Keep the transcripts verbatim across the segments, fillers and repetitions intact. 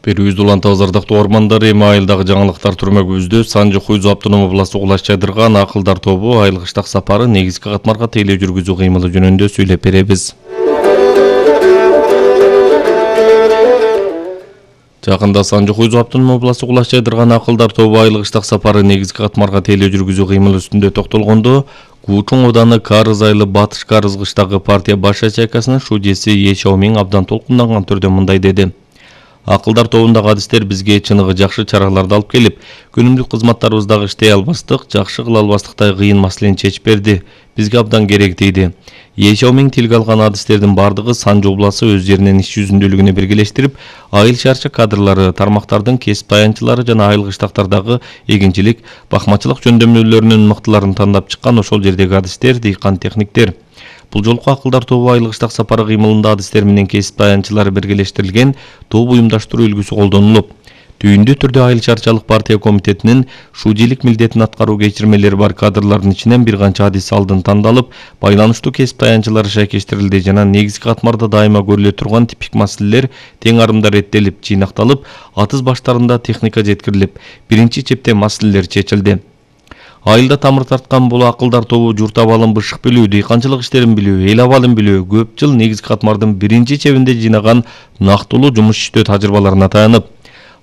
Берүүбүз улантабыз ардактуу ормандар. Эми айылдагы жаңылыктар түрмөгүбүздө Санжы Хуйзу автономдук областык Улаш Чайдырган акылдар тобу айыл кыштак сапары негизги катмарга тейлөө жүргүзүү кыймылы жөнүндө сүйлөп беребиз. Жакында Санжы Хуйзу автономдук областык Улаш Чайдырган акылдар тобу айыл кыштак сапары негизги катмарга тейлөө жүргүзүү кыймылы үстүндө токтолгондо, Куучуң Ооданы Карыз айылы Батыш Карыз кыштагы партия баш ячейкасынын шудеси Е Шаомин абдан толкунданган түрдө мындай деди. Акылдар тобундагы адистер бизге чыныгы жакшы чараларды алып келип, күнүмдүк кызматтарыбыздагы иштей албастык, жакшы кыла албастыктай кыйын маселени чечип берди. Бизге абдан керек дейди. Е Шаомин тилге алган адистердин бардыгы Санжы обласы өз жеринен иш жүзүндөлүгүнө биргелештирип, айыл шарчы кадрлары, тармактардын кесип таянчылары жана айыл кыштактардагы эгинчилик, бакмачылык жөндөмдүүлөрүнүн мыктыларын тандап чыккан ошол жердеги адистер, дыйкан техниктер. Бул жолку акылдар тобу айыл кыштак сапары кыймылында адистер менен кесип таянчылары биргелештирилген топ уюмдаштыруу үлгүсү колдонулуп, түйүндүү түрдө айыл шарчалык партия комитетинин шудийлик милдетин аткаруу кечирмелери бар кадрлардын ичинен бир канча адис алдын тандалып, байланыштуу кесип таянчылары шайкештирилди жана негизги катмарда дайыма көрүлө турган типик маселелер тең арымда реттелип, жыйнакталып, атыз баштарында техника жеткирилип, биринчи чептен маселелер чечилди. Айылда тамыр тарткан бул акылдар тобу журт абалын бышык билүү, дыйканчылык иштерин билүү, эл абалын билүү, көп жыл негизги катмардын биринчи чебинде жыйнаган нактылуу жумуш иштөө тажрыйбаларына таянып,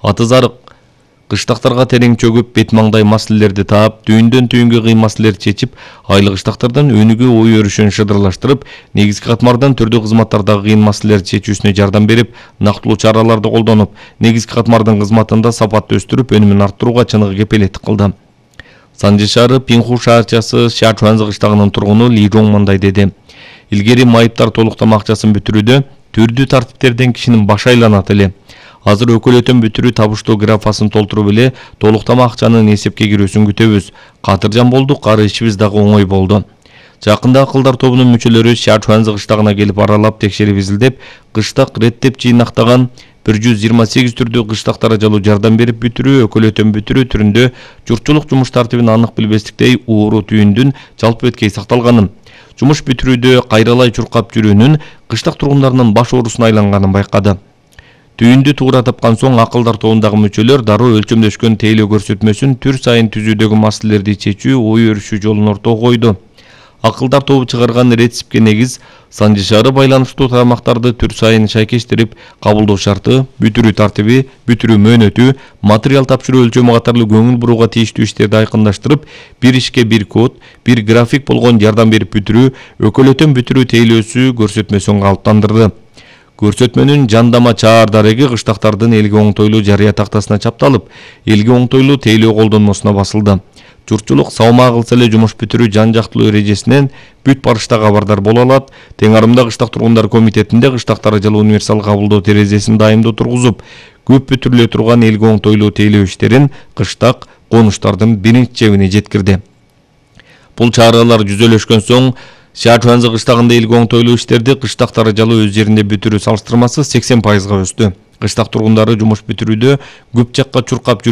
атыз арык кыштактарга терең чөгүп, бет маңдай маселелерди таап, түйүндөн түйүнгө кыйын маселелерди чечип, айыл кыштактардан өнүгүү ой өрүшүн шыдырлаштырып, негизги катмардан түрдүү кызматтардагы кыйын маселелерди чечүүсүнө жардам берип, нактылуу чараларды колдонуп, негизги катмардын кызматында сапатты өстүрүп, өнүмүн арттырууга чыныгы кепелеттик кылды. Санжы шаары Пинху шаарчасы Шачуанзы кыштагынын тургуну Ли Жоң мындай деди. Илгери майыптар толуктама акчасын бүтүрүүдө түрдүү тартиптерден кишинин башы айланат эле. Азыр өкөлөтөн бүтүрүү табыштоо графасын толтуруп эле толуктама акчанын эсепке кирүүсүн күтөбүз. Катыржан болдук, ары ишибиз дагы оңой болду. Жакында акылдар тобунун мүчөлөрү Шачуанзы кыштагына келип аралап, текшерип изилдеп, кыштак реттеп жыйнактаган бир жүз жыйырма сегиз түрдүү кыштак даражалуу жардам берип бүтүрүү, өкөлөтөн бүтүрүү түрүндө журтчулук жумуш тартибин анык билбестиктей ууру түйүндүн жалпы өткөй сакталганын, жумуш бүтүрүүдө кайралай чуркап жүрүүнүн кыштак тургундарынын баш оорусуна айланганын байкады. Түйүндү туура тапкан соң акылдар тобундагы мүчөлөр дароо өлчөмдөшкөн тейлөө көрсөтмөсүн түр сайын түзүүдөгү маселелерди чечүү, ой өрүшүү жолун ортого койду. Акылдар тобу чыгарган рецептке негиз Санжы шаары байланыштуу тармактарды түр сайын шайкештирип, кабылдоо шарты, бүтүрүү тартиби, бүтүрүү мөөнөтү, материал тапшыруу өлчөмү катарлуу көңүл бурууга тийиштүү иштерди айкындаштырып, бир ишке бир код, бир график болгон жардам берип бүтүрүү, өкөлөтөн бүтүрүү тейлөөсү көрсөтмөсүн калыптандырды. Көрсөтмөнүн жандама чаар дареги кыштактардын элге оңтойлуу жарыя тактасына чапталып, элге оңтойлуу тейлөө колдонмосуна басылды. Журтчулук салма кылса эле жумуш бүтүрүү жан жактылуу эрежесинен бүт барышта кабардар боло алат. Тең арымда кыштак тургундар комитетинде кыштак даражалуу универсал кабылдоо терезесин дайымдуу тургузуп, көп бүтүрүлө турган элге оңтойлуу тейлөө иштерин кыштак конуштардын биринчи чебине жеткирди. Бул чаралар жүзөлөшкөн соң Шачуанзы кыштагында элге оңтойлуу иштерди кыштак даражалуу өз жеринде бүтүрүү салыштырмасы сексен пайызга өстү. Кыштак тургундары жумуш бүтүрүүдө көп жакка чуркап жүрүү